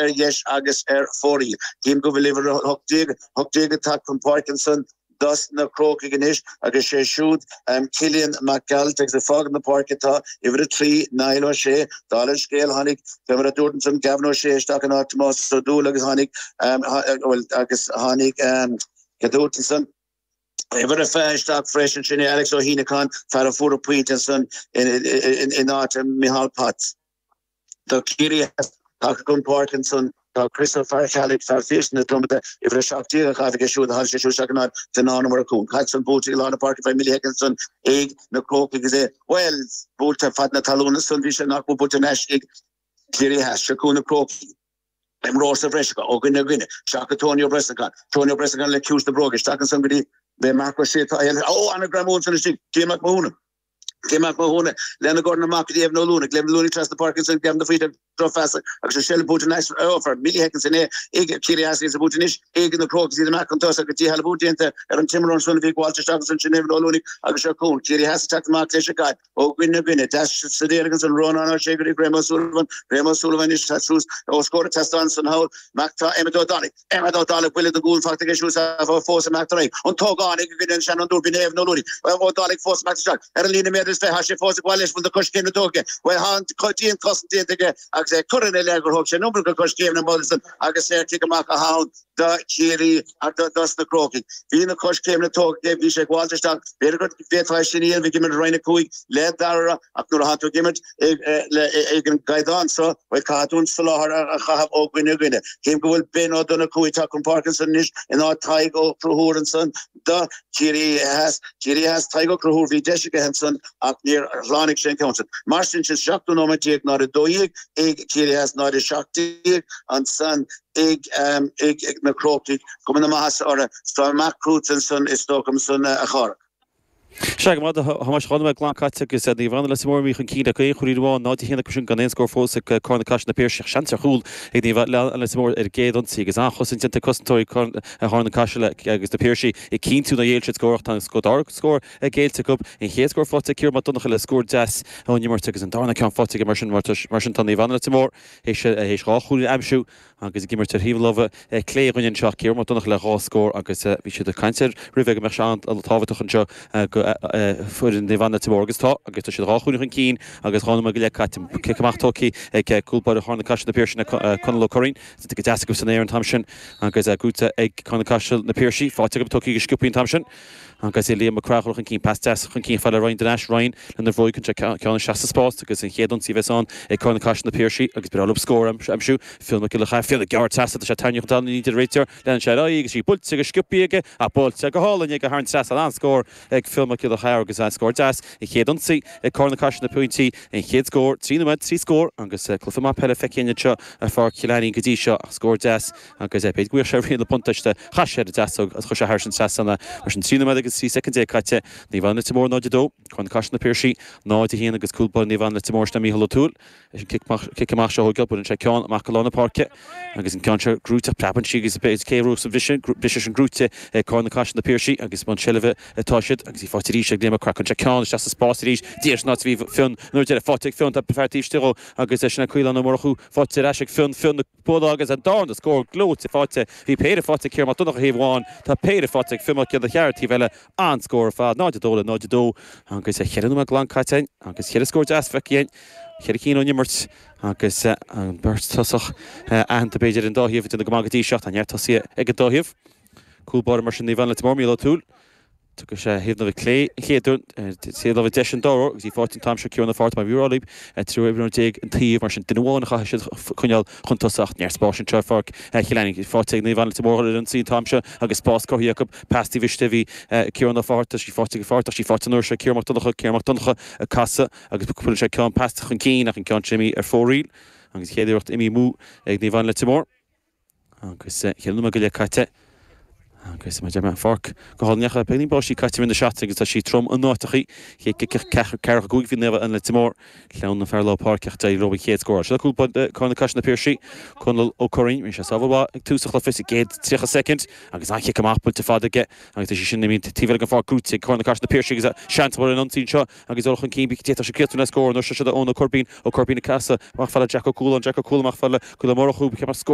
ar dheis agus ar fóraoil. Cím go bhfuil uimhir 18, 18 ag teacht chun páirce ansan dos na Crócaigh anois agus sé siúd Cillian Mac Gearailt agus ag fágaint na páirce atá uimhir 3, Niall O'Shea. Dála an scéil tháinig, fé mar a dúrt ansan, Gavin O'Shea isteach in áit Tomás Ó Dúill agus tháinig, bhuel, agus tháinig, cé dúirt ansan? Uimhir a 20 isteach freisin, sin é Alex Ó hÉineacháin, fear a fuair an pointe ansan in áit Micheál Potts. Do Ciarraí Theas, tagtha chun páirce ansan tá Chris Ó Faircheallaigh, fear Phiarsaigh na Dromada, uimhir 17 á chaitheamh aige siúd, tháinig sé siúd isteach in áit Fionán Ó Murchú. An caid san buailte i lár na páirce fé millisecond ansan ag na Crócaigh agus é, bhuel, buailte fad na talún ansan, bhí sé nach mór buailte thar n-ais ag Ciarraí Theas. Seo chugainn na Crócaigh. Imreoir sa bhreis acu ó dhuine go duine. Isteach go Tony Ó Brosnacháin. Tony Ó Brosnacháin le ciumhais na bróige. Isteach ansan go dtí Marc Ó Sé. Ó, an-ghreamú ansan istigh. Cian Mac Mathúna. Cian Mac Mathúna lena dhorn amach go dtí Evan Ó Luanaigh. Evan Ó Luanaigh trasna páirce ansan. Gavin de Faoite drochphas agus an seilbh buaite anois ó for millisecond sin é ag Ciarraí Theas agus buaite anois ag na Crócaigh iad amach chun tosaigh agus díshealbhú déanta ar an t-imreoir ansan a bhí ag gabháilt isteach ansan sin Evan Ó Luanaigh agus seo chugainn Ciarraí Theas ag teacht amach leis an gcaid. Ó dhuine go duine, deas sa deireadh ansan Rónán Ó Sé go dtí Graham Ó Súilleabháin, Graham Ó Súilleabháin anois tá suas os comhair an tseastáin ansan thall, amach tá Emmet Ó Dálaigh, Emmet Ó Dálaigh buille den gcúl faighte aige siúd fós amach tar aghaidh an t-ógánach i gcoinne an seanfhondúir b'in é Evan Ó Luanaigh, Ó Dálaigh fós amach isteach ar an líne méadar is 20, tá sé fós ag gabháil leis bhfuil na coiscéimeanna tógtha aige, bhuel tá an dianchosaint déanta aige agus é curtha ina leith gur thóg sé an iomarca coiscéimeanna ansan agus saorchic amach atá ann. Do Chiarraí agus dos na Crócaigh. Bhí na coiscéimeanna tógtha aige, bhí sé ag gabháilt isteach, b'fhéidir go bhféadfá é sin a dhéanamh ag imirt i Roinn 5 le Dara ach nuair atá tú ag imirt ag an gcaighdeán seo, bhuel, caithfidh tú an soláthar a chaitheamh ó dhuine go duine. Cím go bhfuil Ben Ó Donnchú ag teacht chun páirce ansan anois in áit Tadhg Ó Conchúir ansan do Chiarraí Theas. Ciarraí Theas, Tadhg Ó Conchúir, bhí deis aige ansan ach níor shlánaigh sé an ceann sin. Mar sin, sin 17 nóiméad 0-12 ag Ciarraí Theas, 0-17 ansan ag na Crócaigh, cuma na maitheasa orthu. Tá amach chugat ansan is dócha ansan a Chárthach. Sea, go maith a Thomáis, 2 nóiméad glan caite agus Naomh Anna Leitir Móir imithe chun cinn le aon chúilín amháin, 0-1 acu sin gan aon scór fós ag Carna Caiseal Na Piarsaigh. Seans ar chúl ag Naomh Anna Leitir Móir ar an gcéad ionsaí agus an-chosaint déanta ag cosantóirí Charna Caiseal agus Na Piarsaigh ag cinntiú nár ghéill siad scór ach tá an dara scór géillte acu. An chéad scór faighte ag Ciarán Mac Donncha le scór deas ón imirt agus an darna ceann faighte aige mar sin. Mar sin tá Naomh Anna Leitir Móir théis dhá chúilín a aimsiú agus ag imirt ar thaobh na láimhe clé dhúinn anseo, Ciarán Mac Donncha le dhá scór agus bhí siad ag caint air roimhe go mbeadh sé an-tábhachtach anseo do foireann Naomh Anna Leitir Móir agus tá agus tá siad dhá chúilín chun cinn agus 2 nóiméad go leith caite. Cic amach tógtha ag cúl báire Charna Caiseal Na Piarsaigh Conall Ó Curraoin. Déanta go deas acu san aer an t-am sin agus gnóthaithe ag Carna Caiseal Na Piarsaigh. Faighte acu tógtha go sciobtha an t-am sin. Agus é Liam Mac Craith chun cinn, pas deas chun cinn fada le Ryan Denash, Ryan lena bhróig chun sé ceann isteach sa spás agus an chéad ionsaí a bheas ann ag Carna Caiseal Na Piarsaigh agus ba bhreá leo scór a aimsiú. Fionn Mac Giolla Chearra, Fionn ag gearradh trasna, tá sé tarraingthe chun talún ní deir an réiteoir, leanann sé ar aghaidh agus í buailte go sciobtha aige ach buailte go hálainn aige thar an trasnán, an-scór ag Fionn Mac Giolla Chearra agus an-scór deas, an chéad ionsaí ag Carna Caiseal na pointí, an chéad scór, 3 nóiméad, 3 scór agus cluiche maith peile feicthe againn anseo ar Pháirc Chill Ainnín go dtí seo ach scór deas Agus b'fhéidir go bhfuigheadh sé riail na buntáiste. Chaith sé ar an deasóg agus chuir sé thairis an trasnán é. Mar sin, 3 nóiméad agus 13 soicind caite. Naomh Anna Leitir Móir 0-2, Carna Caiseal Na Piarsaigh 0-1 agus cúl báire Naomh Anna Leitir Móir sin é Mícheál Ó Tuathail leis an cic amach seo a thógáil. Buaileann sé ceann amach go lár na páirce agus an ceann seo gnóite ach preabann sí agus cé a bhuafas an bhriseadh? Briseadh sin gnóite ag Carna Caiseal Na Piarsaigh agus i mbun seilbhe atá siad agus í faighte arís ag Liam Mac Craith. Cuireann sé ceann isteach sa spás arís. Díreach san áit a bhí Fionn an uair deiridh. Faighte ag Fionn. Tá fear taobh istigh dhó agus sin é Caolán Ó Murchú faighte ar ais ag Fionn. Fionn ag bualadh agus an darna scór gleoite faighte. Bhí péire faighte ag Ciarán Mac Donncha thaobh amháin, tá péire faighte ag Fionn Mac Giolla Chearra taobh eile. An-scór ar fad, 0-2 le 0-2 agus cheithre nóiméad glan caite againn agus cheithre scór deas feicthe againn, cheithre cinn ón imirt agus an bheirt tosach aitheanta b'fhéidir ar an dá thaobh ag déanamh go maith go dtí seo. Tá neart tosaithe ag an dá thaobh. Cúl báire mar sin Naomh Anna Leitir Móir, Mícheál Ó Tuathail. Tógfaidh sé thaobh na láimhe clé an chéad uair, taobh láimhe deis an dara huair agus í faighte an t-am seo Ciarán Ó Fátharta mar bhí rá libh, 13 imreoir an taobh, mar sin duine amháin a chaithfidh siad coinneáil chun tosaigh ach neart spáis anseo ar Pháirc Chill Ainnín. Faighte ag Naomh Anna Leitir Móir ar an ionsaí an t-am seo agus spás cruthaithe acu. Pas taobh istigh a bhí Ciarán Ó Fátharta, sí faighte ag Fátharta ach sí faighte an uair seo ag Ciarán Mac Donncha, Ciarán Mac Donncha ag casadh agus cuireann sé ceann pas chun cinn ach an ceann sin imithe ar fóraoil agus an chéad iarracht imithe amú ag Naomh Anna Leitir Móir. Agus cheithre nóiméad go leith caite. Agus mar a deir mé, an pháirc go hálainn ach beagáinín báistí caite i rith na seachtaine agus tá sí trom in áiteachaí. Chéad cic ceathracha 5 bhí Naomh Anna Leitir Móir, clann na fear lár páirce ach d'éirigh leo an chéad scór. Seo cúl Carna Caiseal na Piarsaigh, Conall Ó Curraoin. Rinne sé sábháil mhaith ag tús an chluiche sa gcéad 30 soicind agus an-chic amach buailte fada aige agus tá sé sin imithe taobh eile den pháirc gnóite ag Carna Caiseal na Piarsaigh agus seans mór ar an ionsaí anseo agus dul chun cinn d'fhéadfadh sé críochnú le scór. Anois seo Eoin Ó Coirbín, Ó Coirbín ag casadh amach fad le Jack Ó Cualáin, Jack Ó Cualáin amach fad le Ó Murchú.